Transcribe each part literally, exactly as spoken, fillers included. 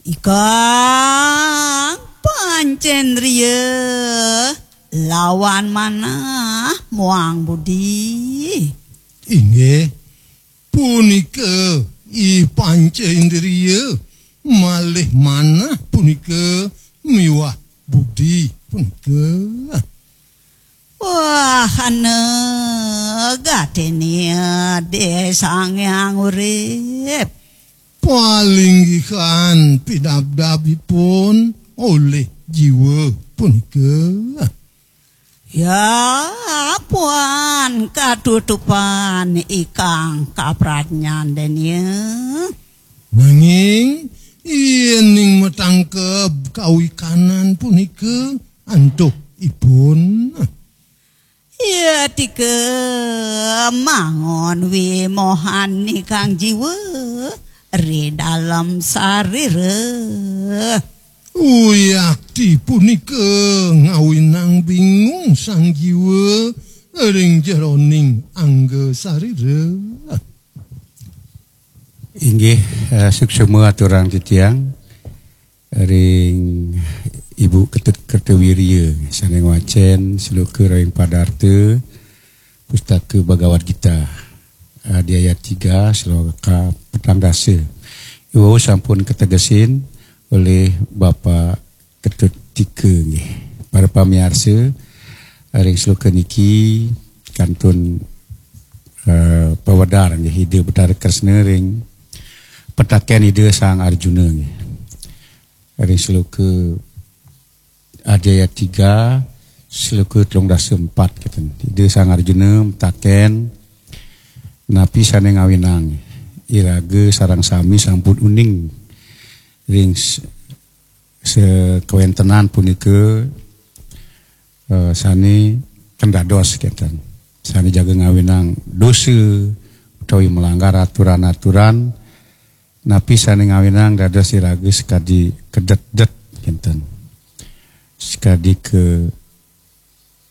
Ikang Pancendria lawan manah muang budi. Inggih, punika I Pancendria malih manah punika miwah budi punika. Wahana gatine Ida Sang Hyang Urip. Palinggihan pidabdabipun olih jiwa punika. Ya, puan katutupan ikang kapradnyan denia. Nanging, yening matangkeb kawikanan punika antuk ipun. Yatika mangon wimohan ikang jiwa ri dalem sarira. Uyakti punika ngawinang bingung sang jiwa ring jeroning angga sarira. Inggih, eh, suksma aturang titiang ring Ibu Ketut Kertawirya sane ngwacen sloka ring Padarta Pustaka Bhagavad Gita, adiaya tiga, sloka petang dasa. Iwau sampun kategesin olih Bapak Ketut Tika nggih. Para pamiarsa, ring sloka niki kantun, eh, pawedar nggih Ida Betara Kresna ring petaken Ida Sang Arjuna nggih. Ring sloka adiaya tiga, sloka telung dasa empat keten. Ida Sang Arjuna mataken, napi sane ngawinang iraga sareng sami sampun uning ring s-, sakawentenan punika, eh, sane ken dados kenten. Sane jaga ngawinang dosa utawi melanggar aturan-aturan, napi sane ngawinang dados iraga sakadi kedetdet kenten. Sakadi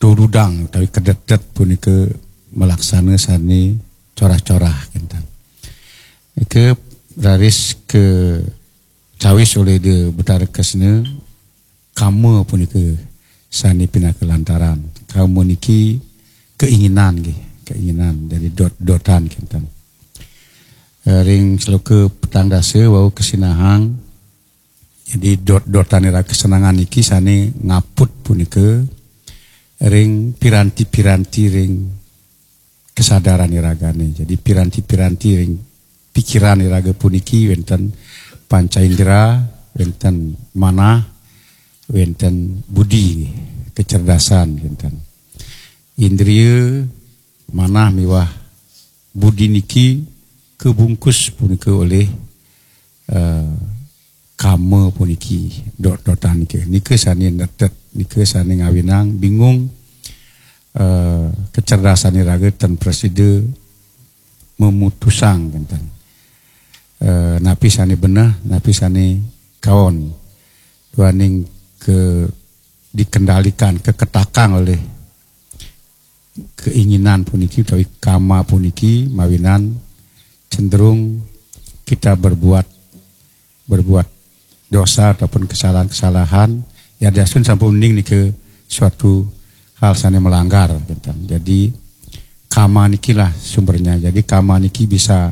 katurudang utawi kedetdet punika malaksana sane corah-corah kenten. Nika raris kacawis olih Ida Betara Kresna, kama punika sane pinaka lantaran. Kama niki keinginan nggih, keinginan. Jadi dot-dotan kenten. Eh, ring sloka petang dasa wau kasinahang. Jadi dot-dotan iraga kesenangan niki sane ngaput punika ring piranti-piranti ring kesadaran iragane. Jadi piranti-piranti ring pikiran iraga puniki wenten panca indera, wenten manah, wenten budi, kecerdasan wenten. Indria, manah miwah budi niki kabungkus punika olih, eh, kama puniki, dot-dotan niki. Nika sane netet, nika sane ngawinang bingung, eh, kecerdasan iraga ten prasida memutusang kenten. Eh, napi sane beneh, napi sane kaon. Duaning ke dikendalikan, keketakang oleh keinginan puniki utawi kama puniki mawinan cenderung kita berbuat, berbuat dosa ataupun kesalahan-kesalahan, ya, dasuh sampun uning nika suatu hal sane melanggar, gitu. Jadi, kama nikilah sumbernya. Jadi, kama niki bisa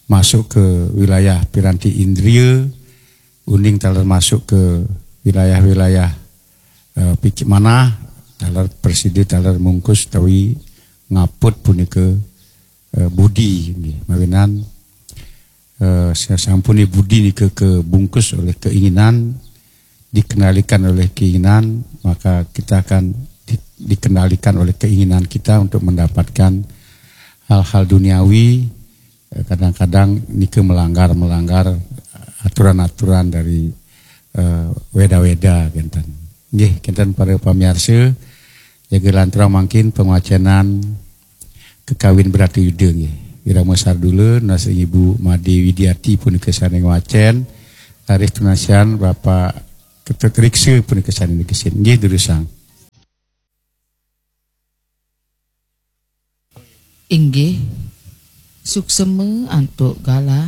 masuk ke wilayah piranti indria, uning taler masuk ke wilayah-wilayah, eh, pikir manah, taler prasida, taler mungkus utawi ngaput punika, eh, budi nggih. Mawinan, eh, sasampune budi nika kabungkus oleh keinginan, dikendalikan oleh keinginan, maka kita akan di-, dikendalikan oleh keinginan kita untuk mendapatkan hal-hal duniawi, eh, kadang-kadang nika melanggar-melanggar aturan-aturan dari, eh, Weda-Weda kenten. Nggih, kenten para pamiarsa, jaga lanturang mangkin pangwacenan Kakawin Bratayuda nggih. Wirama sardula nunas ring Ibu Made Widiati punika sane ngwacen, raris tunasian Bapak Ketut Riksa punika sane negesin. Nggih, durusang. Inggih, suksema antuk galah